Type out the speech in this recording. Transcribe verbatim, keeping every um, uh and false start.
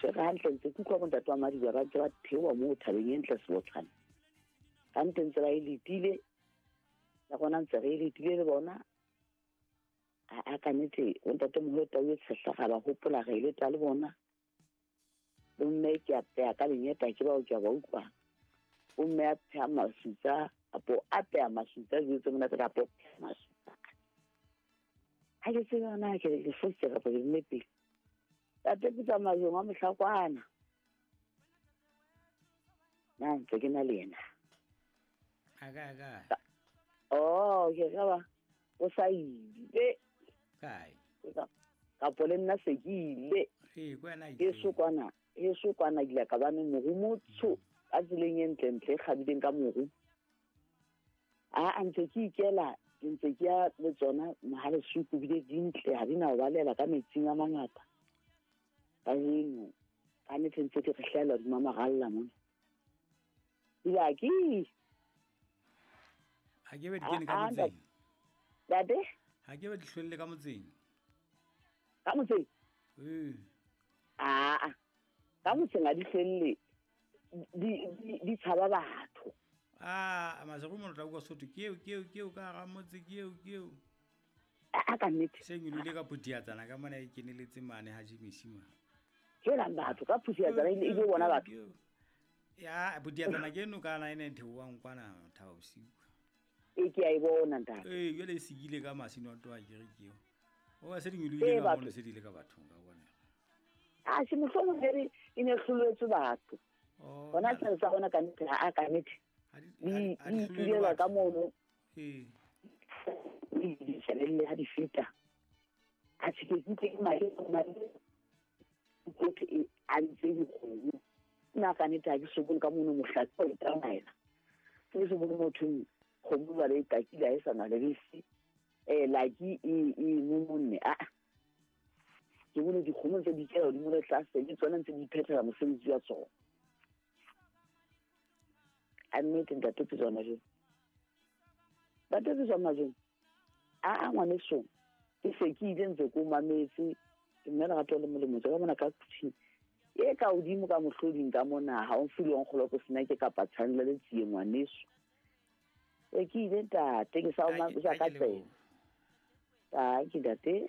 tshwere hantle ntse ke utlwa bontate wa Madiba ba ntse ba theoha moo thabeng e ntle Sebotshwane. Hantle ntse ba e letile le rona ntse re e letile le bona. A a ka nnete bontate moholo tau e tshehla ga ba hopola re e leta le bona. Bomme ke a peha ka lenyeta ke bao ke a ba utlwa. Bomme a pheha masutsa apo a peha masutsa dijo tse monate kapo masutsa. Ha ke tsebe hore na ke ke fositse kapa ke nepile. Tate ke tsamaya wa Mohlakwana. Na ntse ke na le yena. A ka ka. Oh, ke ka ba o sa ile. Kae? Kapo le nna se ke ile. Ee, ko wena E so kwana, e so kwana ke ile ka bane moru motsho ka tseleng e ntlentle e kgabileng ka moru. A a ntse ke ikela, ke ntse ke ya le tsona mohalesuku bile di ntle ha di na ho balela ka metsing a mangata. Kajeno ka nnete ntse ke re hlahela hodima maralla mona. Ile a ke Ha ke be di kene ka motseng. Ntate? Ha ke be di hlwelle ka motseng. Ka motseng? Ee. Aa, ka motseng ha di hlwelle. Di di di tshaba batho. Ah, masego mo tla kwa Sotho ke eo ke eo ke eo ka ga motse ke eo ke eo. A ka nnete. Se nyolile ka phuthiatsana ka mona e keneletse mane ha Jimisi mane. Helang batho ka phuthiatsana e ile bona batho. Ya phuthiatsana ke eno kana ene theoang kwana Thaba Bosiu. E ke a e bona ntate. Ee, jwale e sikile ka masino a toa ke re ke eo. O ba se di nyolile ka mono se di ile ka bathong ka bona. A se mohlomong re e ne hloletswe batho. Hona se sa bona ka nnete ha ka nnete. Di di ka mono. Ee. Di shebelle ha di feta. A se ke ke madi madi ke e a ntse dikgomo. Nna ka nnete ha ke so bone ka mono mohlatsi o tsamaela. Ke so bone motho kgomo ba le takile ha e sa na le bese. Eh laki e e momonne a. Ke bone dikgomo tse di kela hodimo le tlase le tsona ntse di phethela mosebetsi wa tsona. A nnete ntate ke tsona jeng. Ntate ke tsona jeng. A a ngwaneso ke se ke ile ntse ko mametse ke mme lerato le molemo tse ka mona ka kuthing e ka hodimo ka mohloding ka mona ha o mfile nkgolo ko sena ke kapa tshanela le tsie ngwaneso. E ke ile ntate ke sa o sa ka tsena. Ta ke ntate.